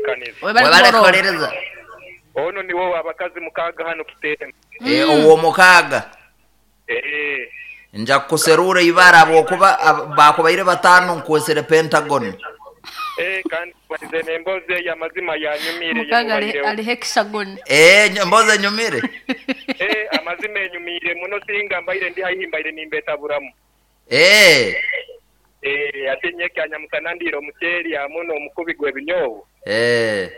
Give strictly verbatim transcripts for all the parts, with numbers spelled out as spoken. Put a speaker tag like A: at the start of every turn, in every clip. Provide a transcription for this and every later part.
A: Ntebeekaniza.
B: Webale
C: Webale
B: kuhorora.
C: kuhuliriza.
A: Ono niwo abakazi mukaaga hano Kitemba.
C: Eh, ow'omukaaga.
A: Eh,
C: Nja kukuserura ibara habwokuba ab- bakubaire bataano nkwesere Pentagon.
A: eh, kandi balize n'emboozi eyo amazima yanyumire
B: Mukaaga ali,
A: yemubaireho.
B: ali hexagon.
C: Eh, ny- mbozi enyumire.
A: Eh, amazima enyumire muno singa mbaire ndi haihi mbaire nimbetaburamu.
C: Eh,
A: Eh, ate nyekya nyamusana ndiire omuceeri hamwe n'omukubi gw'ebinyobwa.
C: eh.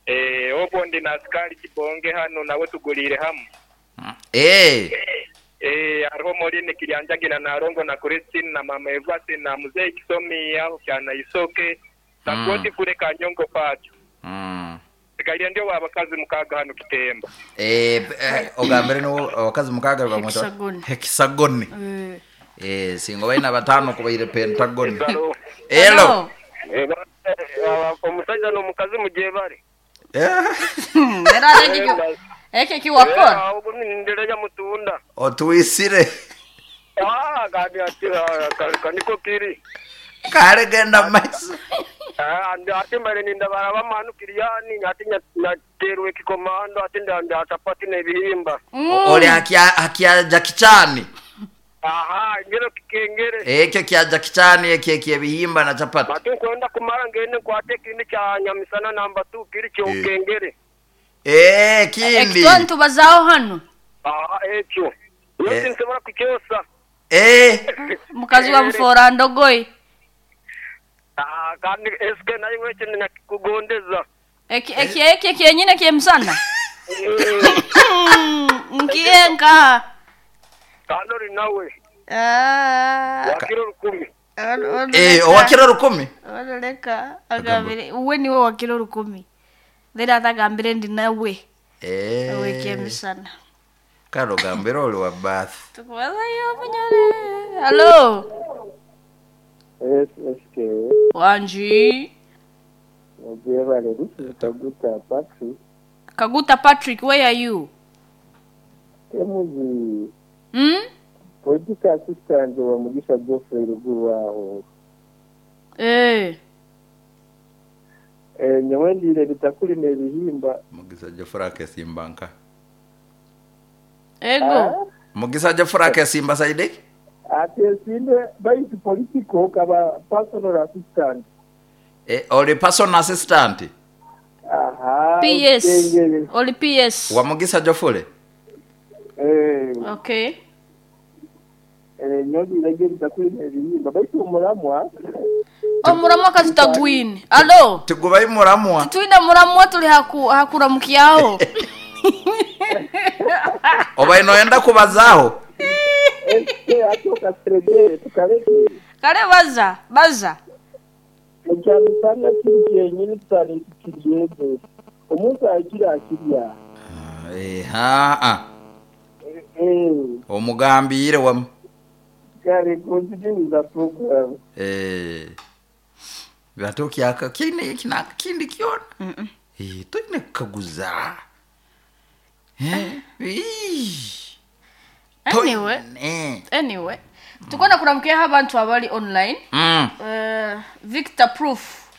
A: Eh, obwo ndi na asikari kibonge hano nawe tuguliire hamu.
C: Eh,
A: Eh, hariho Moline Kiryanjagina na Rongo na Christine na Mama Evasi na Mzee Kisomi aho kyana Isoke na
C: Mm.
A: Godi kule Kanyongo pacho.
C: Mm.
A: Sigaire ndio abakazi mukaaga hano Kitemba.
C: Eh, eh, ogambire niwo abakazi mukaaga bamweta
B: Hexagon.
C: Hexagon.
B: Eh.
C: Eh, singa baina bataano kubaire Pentagon.
A: Hello.
C: Hello.
A: Omusajja n'omukazi mugyebale.
C: Eh,
B: Hmm, Era ate ekyo ekyo kiwakora.
A: Ogwo nindereja mutunda.
C: Otuisire.
A: Ah, kandi ati kaniko kiri.
C: Kale genda maiso.
A: Ah, andi ati mbere nindabara bamanu kiriyani ati nyaterwe kikomando ati nda chapati n'ebihimba.
C: Oli akya akya Jackie Chan.
A: Aha, ngero kikengere.
C: Ekyo kya Jackie Chan ekyo ekyebihimba na chapati.
A: Batu nkwenda kumara ngende nkwate ekindi kya nyamisana namba two kiri kyokengere.
C: Eh, kindi.
B: Ekitwa ntubazaaho hano.
A: Aha, ekyo.
C: Eh.
A: Yosi nsobola kukyosa.
C: Eh,
B: Mukazi wa mufora ndogoyi.
A: Ah, kandi eske nayo ekyo nakikugondeza.
B: Eki eki eki kyenyine kyemusana. Nkiye nkaha.
A: Kandi ori nawe
B: Ah.
A: wakiro rukumi.
C: eh, owakiro rukumi.
B: Oleka agambire uwe niwe wakiro rukumi. Then atagambire ndi nawe.
C: Eh.
B: Owe kyemisana.
C: Kale ogambire oli wa bath.
B: Tukubazayo munyore. Hello.
D: S S K
B: Wanji.
D: Mugyebale, this is Kaguta Patrick.
B: Kaguta Patrick, where are you?
D: Emuzi
B: Hmm?
D: political assistant wa Mugisha Geoffrey ruguru aho.
B: Eh.
D: Eh, nyowe ndiire bitakuli n'ebihimba.
C: Mugisa Geoffrey akesimba nka.
B: Ego.
C: Mugisa Geoffrey akesimba saide?
D: Ate esinde baitu political kaba personal assistant.
C: Eh, oli personal assistant
D: Aha.
B: P S.
D: Okengere.
B: Oli P S.
C: wa Mugisa Geoffrey.
D: Eh,
B: Okay.
D: eh, nyowe ndiire bitakuli n'ebihimba baitu omuramwa.
B: Omuramwa kazitagwine. Hello.
C: Tigubai muramwa.
B: Twina muramwa tuli haku hakuramukyaho.
C: Oba inoenda kubazaaho.
D: S K ate okaseregere tukaleke.
B: Kale baza, baza.
D: Ekyamisana kiri kyenyini tutali kiryeze. Omuntu akira akirya.
C: Eh, ha ah.
D: Eh,
C: Omugambire wamu.
D: kale continue the program.
C: Eh. Batukyaka kine kina kindi kyona.
B: Mm -mm.
C: Eh, tulina kukaguza. Eh? Ii.
B: Anyway,
C: Eh.
B: anyway. Tukona kuramukyaho abantu abali online.
C: Mm.
B: Uh, Victor Proof.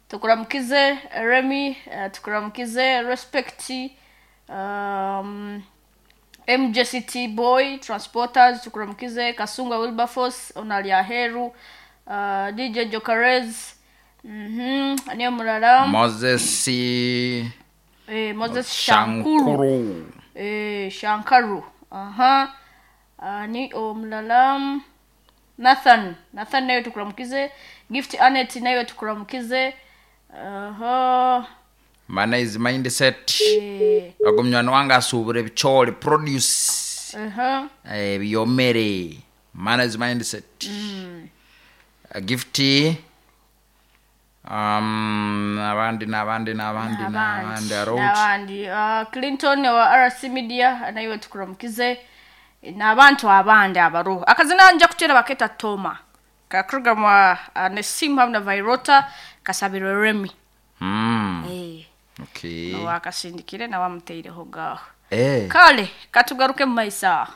B: Tukuramukize Remy, uh, tukuramukize Respect, um, M J C T Boy Transporters, tukuramukize Kasunga Wilberforce, Onalia Heru, uh, D J Jokarez, mhm, niyo mulala.
C: Moses
B: Eh, Moses Shankuru.
C: Shankuru.
B: Eh, Shankaru. Aha. Uh, ni omulala Nathan. Nathan nayo tukuramukize. Gift Anet nayo tukuramukize. Aha.
C: Mana is mindset.
B: Eh,
C: Ogumnywana wange asuubura ebicooli produce.
B: aha.
C: Eh, byomere. Mana is mindset. Mm. Gift um abandi n'abandi n'abandi n'abandi arot
B: N'abandi. Uh, Clinton wa R C Media nayo tukuramukize. N'abantu abandi abaruho. Akazina nja kutera baketa Toma. Kakrugama uh, Nesim hamwe na Vairota kasabirwe Remy.
C: Mm.
B: Eh.
C: Okay.
B: Wakasindikire na wamuteireho gaho.
C: Eh.
B: Kale katugaruke mu maisa.